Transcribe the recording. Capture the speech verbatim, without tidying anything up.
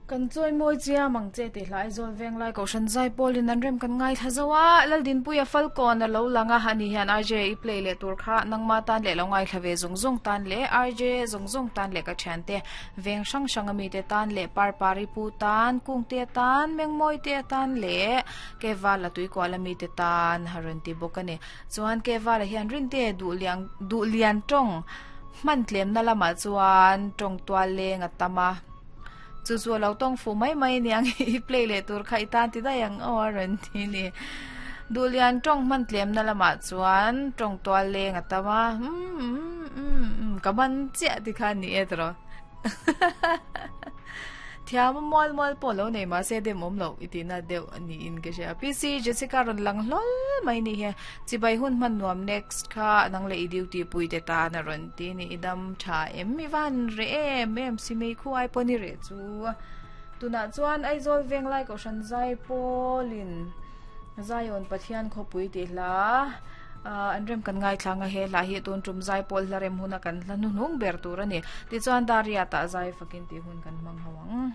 Kan chawi mawi chiam ang che tih hla Aizawl Venglai Kohhran Zaipawlin an rem kan ngaithla zo a, Laldinpuia Falkawn a lo lang a, ani hian R J i play leh tur kha nangma tan leh lo ngaithla ve zawng zawng tan leh R J zawng zawng tan leh ka thiante veng hrang hrang ami te tan leh Parpari pu tan, Kungte tan, Mengmawi te tan leh Kevala tuikual ami te tan a rawn ti bawk a ni. Chuan Kevala hian Rinte duhliang duhlian tawng hman tlemna lamah chuan tawng tual leng a tam a. Chu chu a lo tawng fuh mai mai aniang i play leh tur kha i tan ti daih ang aw a rawn ti a ni. Duhlian tawng hman tlemna lamah chuan tawng tual leng a tam a, umm umm umm umm ka man chiah ti kha a ni e tawrh. Thiam a mual mual pawh lo nei mahse dem awm loh i tihna deuh a niin ka hria. P C Jessica rawn lang hlawl mai ni hian chibai hun hman nuam next kha nang leh i duty pui te tan a rawn ti a ni. I dam tha em i van reh em em si mei khu ai pawh ni reh chu. Tunah chuan Aizawl Venglai Kohhran Zaipawlin Zion Pathian khawpui tih hla an rem kan ngaithlang a, he hla hi tun tum Zaipawl hla rem huna kan hla hnuhnung ber tur a ni. Tichuan Dariatah zai fakin tih hun kan hmang ho ang.